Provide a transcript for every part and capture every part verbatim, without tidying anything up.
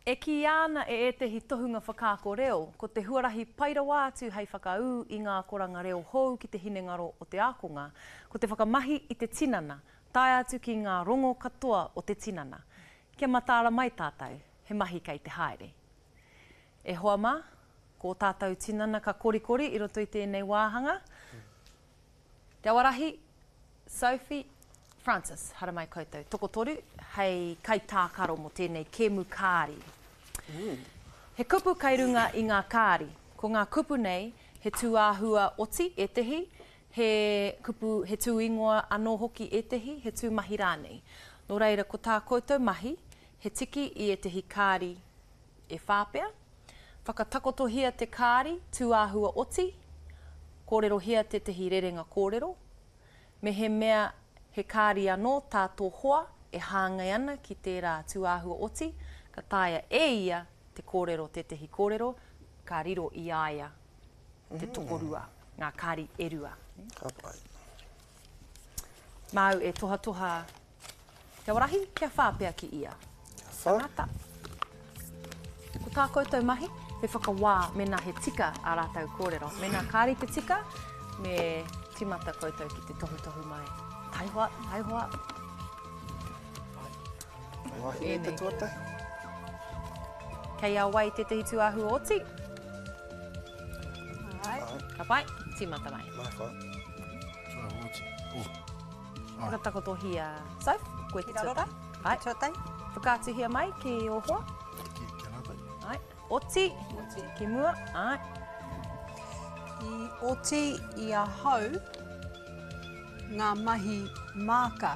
E kīia ana e ētehi tohunga whakaako reo, ko te huarahi pai rawa atu hei whakaū i ngā akoranga reo hou ki te hinengaro o te ākonga, ko te whakamahi i te tinana, tae atu ki ngā rongo katoa o te tinana. Kia mataara mai tātou, he mahi kei te haere. E hoa mā, ko ō tātou tinana ka korikori i roto i tēnei wāhanga. Te Awarahi, Sophie, Francis, haramai koutou tokotoru hei kaitākaro mō tēnei kēmu kāri. He kupu kei runga i ngā kāri. Ko ngā kupu nei, he tūāhua oti ētehi, he kupu, he tūingoa anō hoki ētehi, he tūmahi rānei. Nō reira, ko tā koutou mahi, he tiki i ētehi kāri e whā pea, whakatakotohia te kāri tūāhua oti, kōrerohia tētehi rerenga kōrero, mehemea he kāri anō tā tō hoa e hāngai ana ki tērā tūāhua oti, ka taea e ia te kōrero tētehi kōrero, ka riro i a ia te tokorua, ngā kāri e rua. Ka pai. Māu e tohatoha Te Awarahi, kia whā pea ki ia. Kia whā. Tangata. Ko tā koutou mahi, he whakawā mēnā he tika ā rātou kōrero. Mēnā kāre te tika, me tīmata koutou ki te tohutohu mai. Taihoa, taihoa. Wahine te tuatahi. Kei a wai tētehi tūāhua oti? Ai. Ka pai, tīmata mai. Mai whā. Tūāhua oti. Oh. Whakatakotohia, Soph, koe te Ki raro rā? tuatahi. Ai. Te tuatahi. Whakaatuhia mai ki ō hoa. Ki, ki a rātou. Ai. Oti. Oti. Ki mua. Ai. I oti i ahau ngā mahi māka.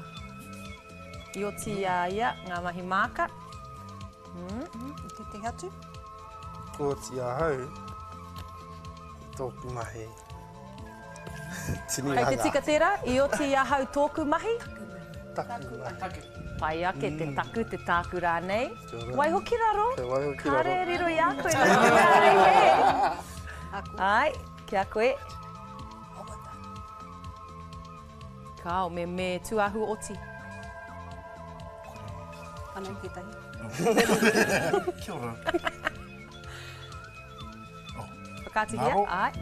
I oti i a ia ngā mahi māka. Mm. Mm, i tētehi atu? Kua oti ahau tōku mahi tinihanga. Kei te tika tērā? I oti i ahau tōku mahi? Taku mahi. Pai ake te taku, te tāku rānei. Waiho ki raro. Kia waiho ki raro. Kāre e riro i a koe nā te mea e hē. Ai, ki a koe. Kāo, me, me tūāhua oti. Anei tētahi. Kia ora. Oh. Whakaatuhia, Ngaro. ai.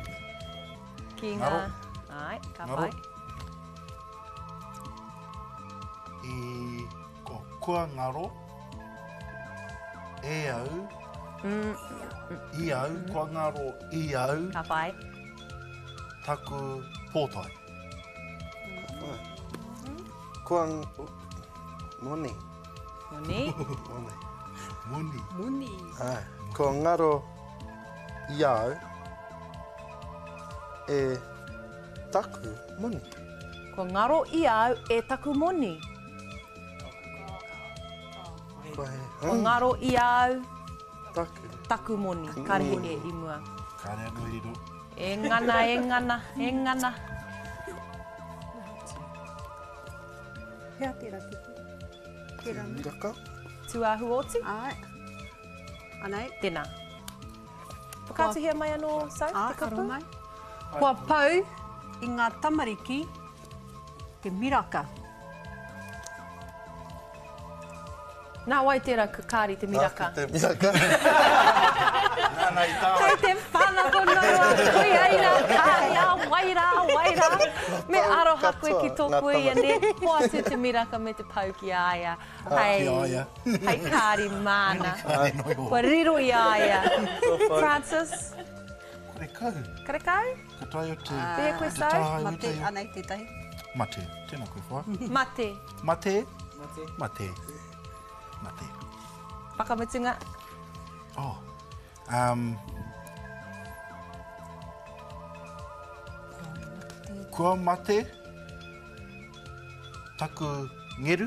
Ki ngā... Ngaro. Ai, ka Ngaro. pai. I ko kua ngaro e au, Mm. i au, kua ngaro i au. Ka pai. Taku pōtae. Kua moni. Moni. Moni. Moni. Moni. Ai. Kua ngaro i au e taku moni. Kua ngaro i au e taku moni. Kua he. Kua ngaro i au Taku. Taku moni. Kāre he e i mua. Kāre anō i riro. E ngana, e ngana, e ngana. Hea tērā kupu? Tērā mea. Miraka. Tūāhua oti? Āe. Anei. Tēnā. Whakaatuhia mai anō, Soph, te kupu? Āe, aro mai. Kua pau i ngā tamariki te miraka. Nā wai tērā kāri te miraka? Nāku te miraka. Nāna i tāwai. Kei te whanako noa, koia i ngā kāri, a wai rā, a wai rā. Me aroha koe ki tō kuia, nē? Hoatu te miraka me te pau ki a ia. Hei, Ki a ia. hei kāri māna. Kāri noa iho. Kua riro i a ia. Francis? Karekau. Karekau? Ka taea te, Pēhea koe, te Soph? tāhae Mate, ute. anei tētahi. Mate, tēnā koe whaea. Mate. Mate. Mate. Mate. Mate. Whakamutunga. Oh. Um, kua mate taku ngeru.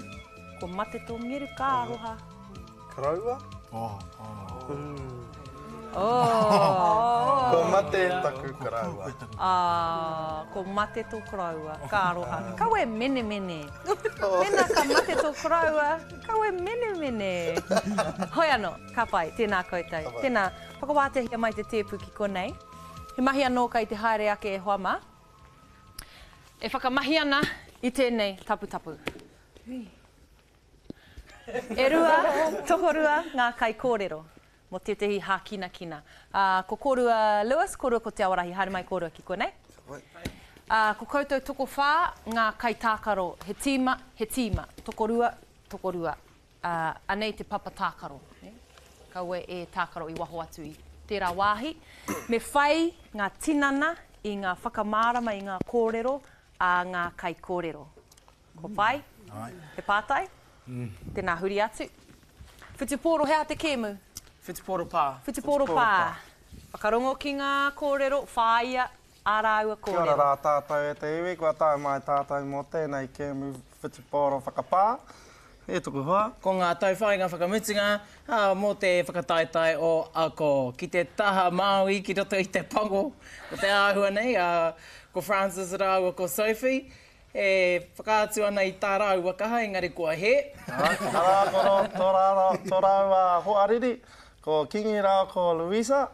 Kua mate tō ngeru, ka aroha. Karaua? Oh, oh. Oh. Kua mate taku karaua. Ah, kua mate tō karaua, ka aroha. Kaua e menemene. Mēnā ka mate tō karaua, kaua e menemene. Hoi anō, ka pai, tēnā koutou. Tēnā, whakawāteahia mai te tēpu ki konei. He mahi anō kei te haere ake e hoa mā. E whakamahi ana i tēnei taputapu. E rua, tokorua ngā kaikōrero mō tētehi hākinakina. Uh, ko kōrua Lewis, kōrua ko Te Awarahi, haere mai kōrua ki konei. Uh, ko koutou tokowhā ngā kaitākaro, he tīma, he tīma, tokorua, tokorua. Uh, anei te papa tākaro. Eh? Kaua e tākaro i waho atu i tērā wāhi. Me whai ngā tinana i ngā whakamārama i ngā kōrero a ngā kaikōrero. Ko pai? He pātai? Mm. Tēnā huri atu. Whutupōro, he aha te kēmu? Whutupōro pā. Whutupōro pā. Whakarongo ki ngā kōrero, whāia ā rāua kōrero. Kia ora rā tātou e te iwi, kua tae mai tātou mō tēnei kēmu whutupōro whakapā. E tuku hoa. Ko ngā tauwhāinga whakamutunga ā, mō te whakataetae o Ako. Ki te taha Māui, ki roto i te pango o te āhua nei, ā, ko Francis rāua ko Sophie, e whakaatu ana i tā rāua kaha, engari kua hē. Arā, ko ro, tō rāua, tō rāua hoariri, ko Kingi rāua ko Louisa.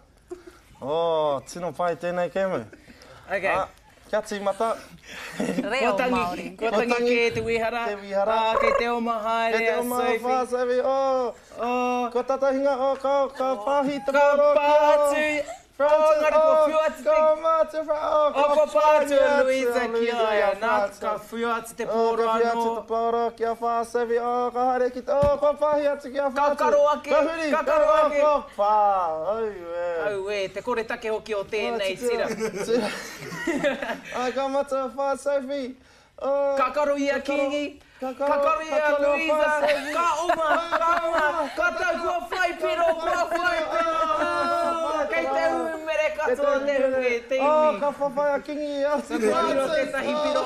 Oh, tino pai tēnei kēmu. Okay. Ā, kia tīmata. Reo Māori. Kua tangi kē te wihara. Te wihara. Ā, kei te oma haere Kei te a oma Sophie. whā, Sophie. Oh, oh. Kua tatahinga, oh, ka, ka pāhi te Ka pōro. pā atu. Francis, Oh, ngari kua oh, whiu atu te... Ka mate, oh, Oh, kua pā atu a Louisa Louisa ki a ia. Nā, Francis. ka whiu atu te Oh, pōro ka whiu atu anō. te pōro ki a whā, Sophie. Oh, ka haere ki te... Oh, kua pāhi atu ki a Ka Francis. karo ake, Ka huri. ka karo oh, ake. Kua pā. Auē. Auē, te kore take hoki o tēnei tira. Tira. Ai, ka mate a whā, Sophie. Oh, Ka karo i a ka karo- Kingi, ka ka karo- karo i ka a karo a Louisa, whā, Sophie. ka oma, ka oma, ka tau kua whai piro, kua whai piro. Kei te umere katoa te hunga e te Oh, iwi. ka whawhai a Kingi i a Ka whiro tētahi piro.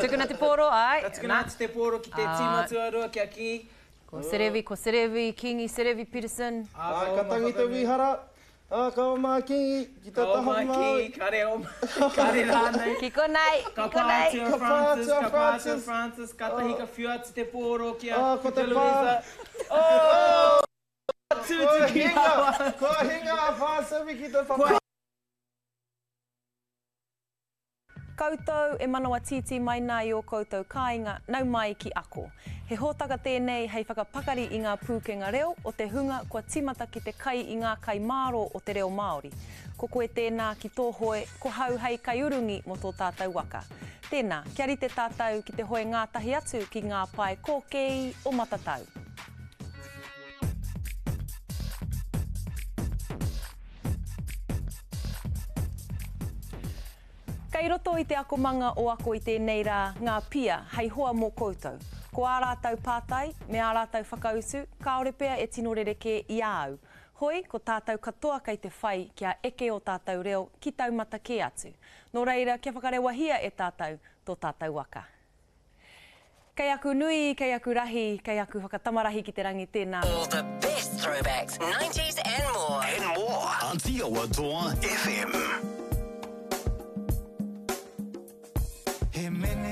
Tukuna te pōro, ai. Ka tukuna atu te pōro ki te tīma tuarua ki a Kingi. Ko Serevi, ko Serevi, Kingi, Serevi Peterson. Ai, ka tangi te wihara. Ah, ka oma a Kingi ki te Ka taha oma a Māori. Kingi, kare oma, kare rānei. Ki konei, ki Ka pā konei. atu a Ka pā Francis, atu a ka pā atu a Francis. Francis, kātahi ka whiu atu te pōro ki a Ah, ko te pā. Louisa. Oh! Kua Tūtuki hinga, rawa. kua hinga a whā, Sophie ki te whawhai. Koutou e manawa tītī mai nā i o koutou kāinga, nau mai ki Ako. He hōtaka tēnei hei whakapakari i ngā pūkenga reo o te hunga kua tīmata ki te kai i ngā kai māro o te reo Māori. Ko koe tēnā ki tō hoe, ko hau hei kaiurungi mō tō tātou waka. Tēnā, kia rite tātou ki te hoe ngātahi atu ki ngā pae kōkēi o Matatau. Kei roto i te akomanga o Ako i tēnei rā ngā pia hei hoa mō koutou. Ko ā rātou pātai me ā rātou whakautu, kāore pea e tino rerekē i a au. Hoi, ko tātou katoa kei te whai kia eke o tātou reo ki taumata kē atu. Nō reira, kia whakarewahia e tātou tō tātou waka. Kei aku nui, kei aku rahi, kei aku whakatamarahi ki te rangi tēnā. All the best throwbacks, nineties and more. And more. Aotearoa F M. He mene